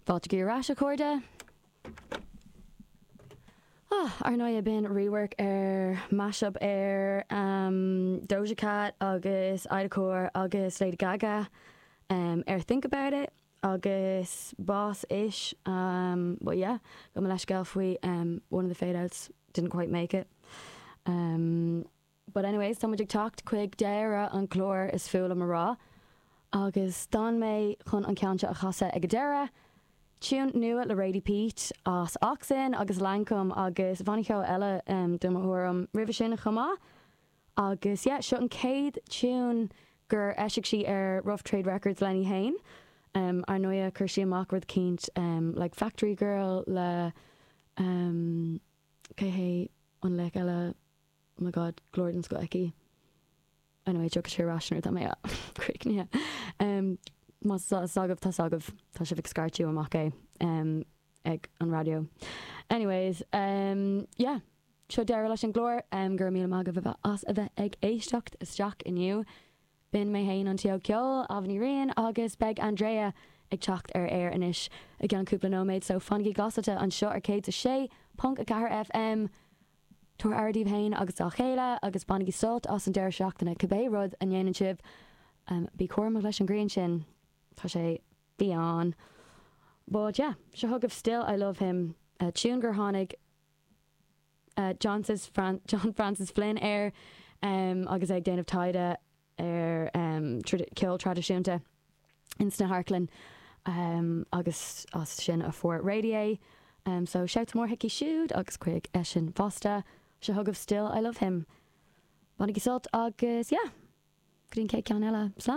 Fáilte ar ais a chairde. Ah, ar ndóigh b'in rework ar mashup ar um, Doja Cat agus IDACOR agus Lady Gaga um, ar Think About It agus Boss-ish um, but yeah, gabh mo leithscéal faoi um, one of the fade outs didn't quite make it. Um, But anyways, tá muid ag teacht chuig deireadh an chláir is fuath liom a rá, agus d'fhan mé chun an ceann seo a chasadh ag an deireadh. Tiún nua le Radie Peat as Oxen agus Lankum agus banna ceoil eile do mo thuairim roimhe sin chomh maith. Agus yeah, seo an chéad tiún gur eisigh sí ar Rough Trade Records lena fhéin. Ar ndóigh chuir sí amach rud eicínt like Factory Girl le cé hé an laoch eile? Oh my god, glór den scoth aici. Anyway, tiocfaidh sé ar ais nuair atá mé críochnaithe. Um, má tá a fhios agaibh, tá a fhios agaibh, tá sibh ag scairteadh amach é um, ag an raidió. Anyways, um, yeah, seo deireadh leis an gclár, um, go raibh míle maith agaibh as a bheith ag éisteacht isteach inniu. B'in mé fhéin an t-óg ceoil, Ailbhe Ní Riain, agus beidh Andrea ag teacht ar aer anois i gceann cúpla nóiméad, so fanaigí glasáilte anseo ar 106.4 FM. Tabhair aire daoibh fhéin agus dá chéile agus bainigí sult as an deireadh seachtaine cibé rud a ndéanann sibh. Bí cúramach leis an ghrian sin, tá sé fiáin. But yeah, seo chugaibh Still I Love Him, tune gur tháinig John John Francis Flynn air agus é ag déanamh taighde ar ceol traidisiúnta ins na hamharclanna agus as sin a fuair Radie é. So shout mór chuici siúd agus chuig eisean fosta. Seo chugaibh Still I Love Him. Bainigí sult agus yeah, go dtí an chéad ceann eile. Slán!